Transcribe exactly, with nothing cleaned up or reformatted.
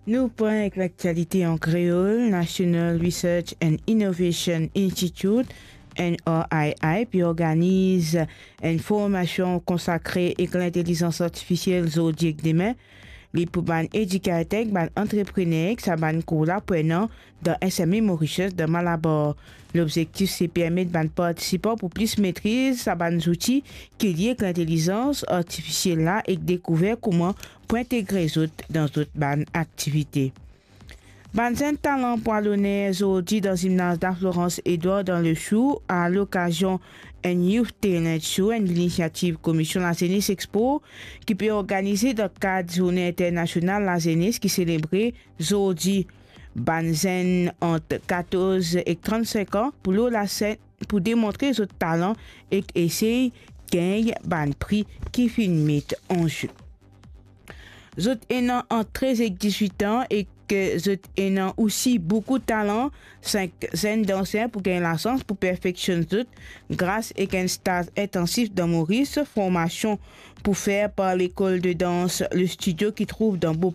Nou pran ek laktialite an kreol. National Research and Innovation Institute, N R I I, pe organiz enn formasion konsakre ek lintelizans artifisiel zordi ek demin. Li pou bann edikater, bann antreprener, ek sa bann koulaborater dan S M E Mauritius dan Malabar. Lobzektif se permet bann partisipan pou plis metriz sa bann zouti ki lie ek lintelizans artifisiel la ek dekouver kouma pou integre zot dan zot bann aktivite. Bann zenn talan pou al oner zordi dan zimnaz La Florence Edouard dan Lechou, a lokazion enn Youth Talent Show, enn linisiativ Komision Lazenes Expo, ki pe organize dan kad Zourne Internasional Lazenes ki selebre zordi. Bann zenn ant katorz ek trannsenk an pou lor lasenn pou demontre zot talan ek esey gagn bann pri ki finn met an ze. Zot ena ant trez ek dizwit an ek zot ena osi boukou talan. Sink zenn danser pou gagn lasans pou perfeksionn zot gras ek enn staz intansif dan Moris, formasion pou fer par lekol de dans Le Studio ki trouv dan Beau